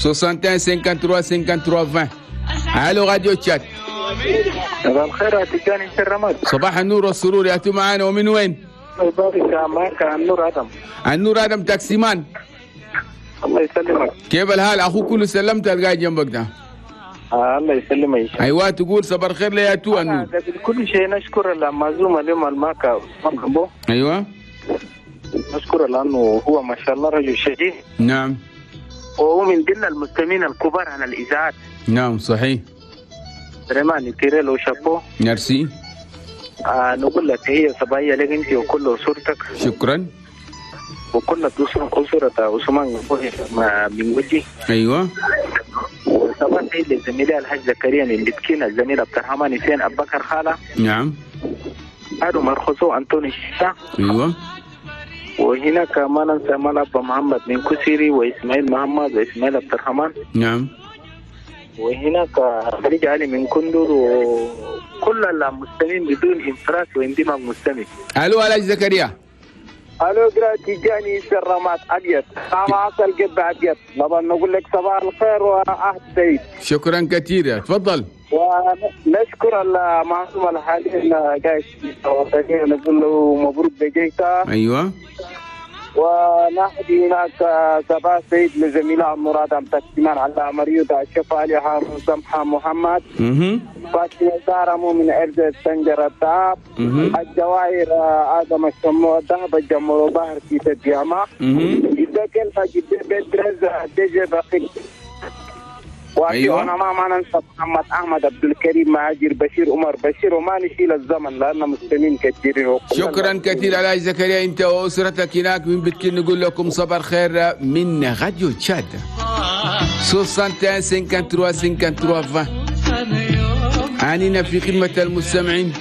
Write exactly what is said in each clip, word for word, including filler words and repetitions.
soixante et un cinquante-trois cinquante-trois vingt. الو راديو تشاد. صباح الخير يا تجاني الرماد. صباح النور والسرور، يا معانا ومن وين؟ معك النور ادم. النور ادم تاكسيمان. الله يسلمك. كيف الحال اخوك؟ كله سلمت القاعد جنبك ده. آه الله يسلمك. ايوه تقول صباح الخير ليا تو النور. قبل كل شيء نشكر المعزوم اليوم الماكا. ايوه نشكره لانه هو ما شاء الله رجل شجيع. نعم. وهو من ضمن المستمعين الكبار على الاذاعات. نعم صحيح. vraiment tirer le chapeau. ميرسي. آه نقول لك هي صباحية لك انت وكل اسرتك. شكرا. وكل اسرة عثمان من وجهي. ايوه. وصباح سعيد للزميلة الحاج زكريا اللي بكينا، الزميل عبد الرحمن حسين ابو بكر خاله. نعم. هذا مرخصو انطوني شيشا. ايوه. وهناك ما ننسى مال محمد من كسيري واسماعيل محمد واسماعيل عبد الرحمن. نعم. وهناك خليج علي من كندر وكل المستمعين بدون انفراس واندماج مستمع. الو علاج زكريا. الو تيجاني الرماد ابيض مع عسل قب ابيض. طبعا نقول لك صباح الخير وعهد سعيد. شكرا كثيرا، تفضل. ونشكر المعصوم الحالي جاي نقول له مبروك بجيتا. ايوه. ونحدي هناك صباح سعيد لزميلة مراد عم تكتمان على مريوطة الشفا علي هارون سمحة محمد فاطمة زارمو من أرض السنجر التعب الجواهر آدم الشمو الذهب الجمر ظهر في الجامعة إذا كان جد بدرز دجى بقي. أيوة. وأنا ما ما ننسى محمد أحمد عبد الكريم معاجر بشير عمر بشير وما نشيل الزمن لأن مستمعين كثيرين. شكرا كثير على زكريا أنت وأسرتك هناك من بتكين. نقول لكم صباح الخير من راديو تشاد soixante et un cinquante-trois cinquante-trois vingt. عنينا في خدمة المستمعين.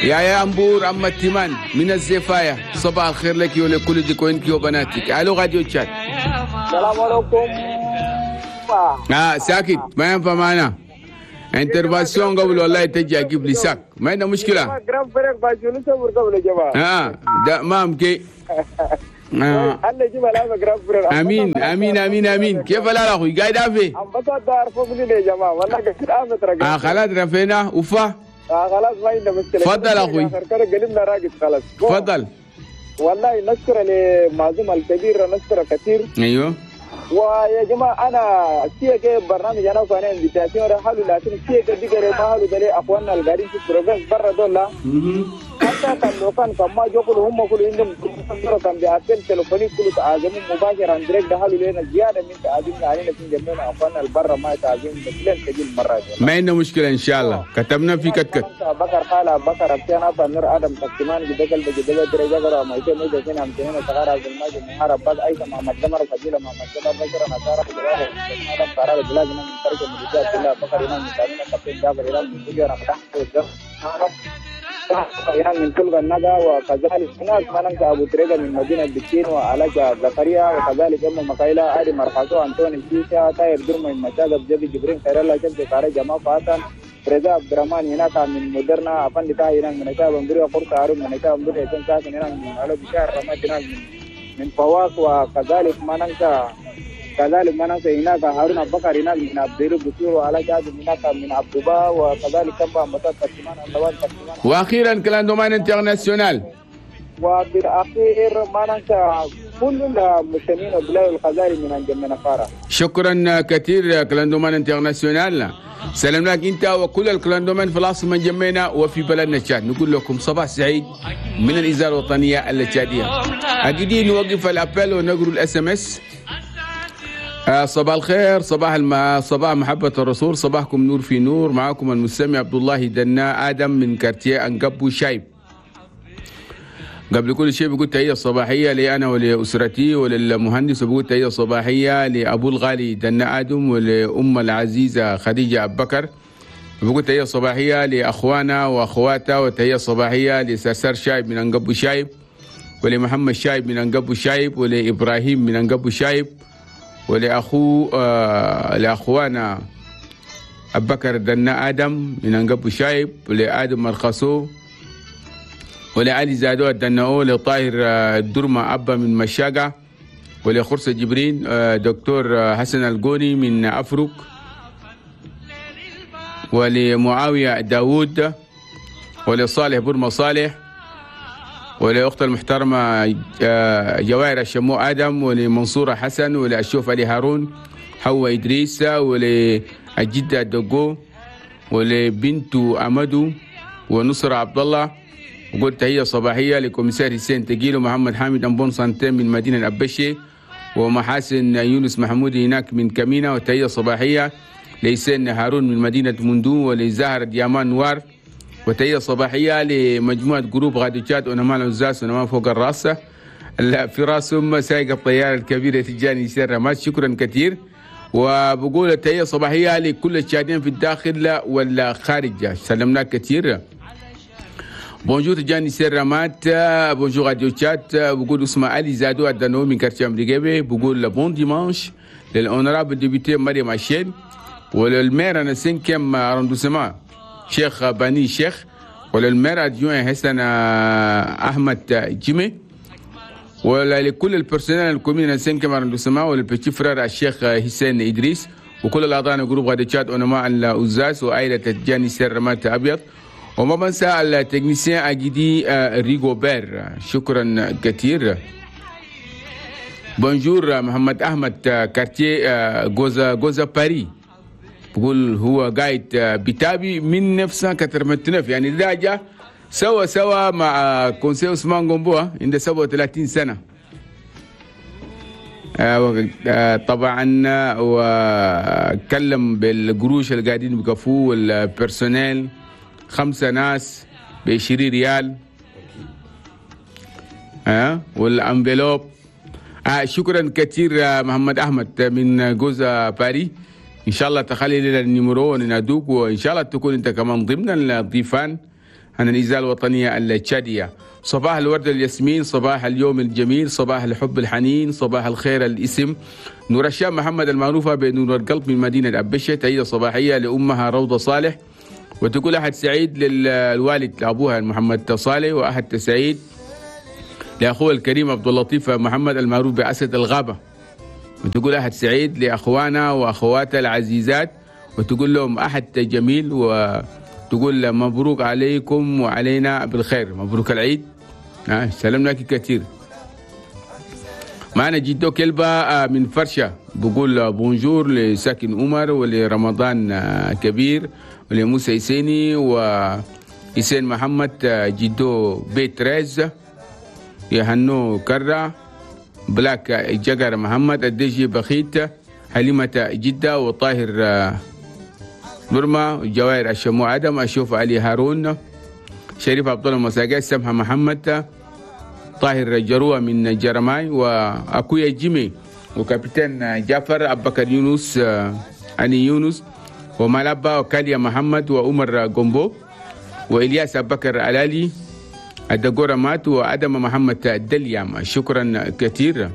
يا يا أمبور أما التيمان من الزفاية، صباح الخير لك ولكل ديكوينك وبناتك. ألو راديو تشاد. السلام عليكم. اه ساكت ما ينفع معنا intervention قبل والله تجي اجيب لي sac ما عندنا مشكلة. اه ده ما امكي. آه. امين امين امين امين. كيف لا اخوي قاعد افي؟ اه خلاص رفينا وفا. اه خلاص ما عندنا مشكلة. تفضل اخوي. راقد خلاص. تفضل. والله نشكر لمعزوم الكبير، نشكره كثير. ايوه. ويا جماعة انا شيء برنامج انا وكان invitation حلو، لكن شيء دي ما حلو ده اخواننا القاعدين في province برا دول حتى كان لو كان كما يقولوا هم كل عندهم كان ب appel téléphonique كله تعازم مباشر en direct ده حلو لنا زيادة من تعازمنا علينا في جميعنا اخواننا البرا ما تعازم بس تجي المرة دي ما عندنا مشكلة ان شاء الله. كتبنا في كتكت بكر خاله بكر ابتنا نور ادم تكتمان جدل بجدل درجه غرا ما يتم اذا كان عم تنين تغار عبد الماجد محارب بعد اي محمد دمر فجيله محمد دمر بشر نصارى ادم قرار بلاد من فرق من الله بكر امام مسلمين كابتن جابر امام من سجن فتح من كل الندى. وكذلك هناك ما ننسى ابو تريده من مدينة بكين وعلاج زكريا، وكذلك ام مقايله علي مرحزو انطوني شيشة طاير درمه من مشاغب جبي جبرين خير الله شمس قاري جمال فاتن رضا عبد الرحمن هناك من مدرنا افندي تاي هناك من شاب بندري قرط هارون من شاب بندري يكون ساكن هناك من علو بشار رماد هناك من من فواق. وكذلك ما ننسى كذلك ما ننسى هناك هارون ابو بكر هناك من عبد البصير وعلى جاد هناك من عبد با، وكذلك كم مسات تكتمان اللوان تكتمان. واخيرا clandoman international. وبالاخير ما ننسى كل المسلمين وبلاد الخزائن من انجم نفارة. شكرا كثير clandoman international. سلام لك انت وكل ال clandoman في العاصمة جمينا وفي بلدنا تشاد. نقول لكم صباح سعيد من الاذاعة الوطنية التشاديه. اكيد نوقف ال appel ونقرا ال SMS. صباح الخير، صباح الم... صباح محبة الرسول، صباحكم نور في نور. معكم المستمع عبد الله دنا آدم من quartier أنقبو شايب. قبل كل شيء بقول تحية صباحية لي أنا ولأسرتي وللمهندس، وبقول تحية صباحية لأبو الغالي دنا آدم ولأم العزيزة خديجة أبو بكر، بقول تحية صباحية لأخوانا وأخواتها، وتحية صباحية لسرسر شايب من أنقبو شايب، ولمحمد شايب من أنقبو شايب، ولإبراهيم من أنقبو شايب، ولأخو آه لأخوانا أبو بكر دنا آدم من أنقبو شايب، ولآدم مرخصو، ولعلي زادو الدناو، لطاهر الدرمة أبا من مشاقة، ولخرسة جبرين دكتور حسن الجوني من أفرق، ولمعاوية داوود، ولصالح برما صالح، ولأخت المحترمة جواهر الشمو آدم، ولمنصورة حسن، ولأشوف علي هارون، حواء إدريس، وللجدة دقو، ولبنت أمدو، ونصر عبد الله. وقلت تحية صباحية ل commissaire حسين تقيل ومحمد حامد en bonne santé من مدينة أبشي، ومحاسن يونس محمود هناك من كمينة. وتحية صباحية لحسين هارون من مدينة مندو، ولزهر ديامان نوار. وتحية صباحية لمجموعة groupe راديو تشاد ونمان عزاز ونمان فوق الراس في راسهم سايق الطيارة الكبيرة تجاني سير. شكرا كثير. وبقول التحية صباحية لكل التشادين في الداخل والخارج، سلمناك كثير. bonjour تجاني سير رمات، bonjour راديو تشاد. بقول اسمه علي زادو الدنو من quartier أمريكا. بقول bon dimanche لل honorable députée مريم عشين، ولل maire أنا cinquième arrondissement شيخ بني شيخ، ولل maire adjoint حسن احمد جيمي، ولكل ال personnel ال commune cinquième arrondissement، ولل petit frère الشيخ حسين ادريس، وكل الاعضاء groupe راديو تشاد ونماء الأزاز وعائلة تجاني سير رمات ابيض. وما بنسى ال technicien اجيدي ريغوبير، شكرا كثير. bonjour محمد احمد quartier جوزا جوزا باري، بقول هو قاعد بتابي من نفسه كترمتنف، يعني ده سوا سوا مع conseiller عثمان قنبوه عنده سبعة وثلاثين سنة. طبعا وكلم بالقروش اللي قاعدين بيكفوه وال personnel، خمسة ناس ب عشرين ريال ها وال enveloppe. آه شكرا كثير محمد احمد من جوزا باري. ان شاء الله تخلي لنا ال numéro وننادوك، وان شاء الله تكون انت كمان ضمن الضيفان عن الإذاعة الوطنية التشادية. صباح الورد الياسمين، صباح اليوم الجميل، صباح الحب الحنين، صباح الخير الاسم نور الشام محمد المعروفة بنور القلب من مدينة أبشة. تحية صباحية لأمها روضة صالح، وتقول أحد سعيد للوالد لأبوها محمد صالح، وأحد سعيد لأخوه الكريم عبد اللطيف محمد المعروف بأسد الغابة، وتقول أحد سعيد لأخوانا وأخواتها العزيزات، وتقول لهم أحد جميل، وتقول مبروك عليكم وعلينا بالخير، مبروك العيد. آه سلام لك كثير. معنا جدو كلبة من فرشة، بقول bonjour لساكن عمر ولرمضان كبير ولموسى يسيني وإسين محمد جدو بيت ريز يهنو كرة بلاك جقر محمد الدجي بخيت حليمة جدة وطاهر برما جواهر الشمو عدم أشوف علي هارون شريف عبد الله مساقات سمحة محمد طاهر جروة من جرماي وأكويا جيمي وكابتن جعفر أبكر يونس علي يونس ومالابا وكاليا محمد وعمر جومبو وإلياس أبكر علالي الدقورة مات وأدم محمد دليام. شكرا كثير.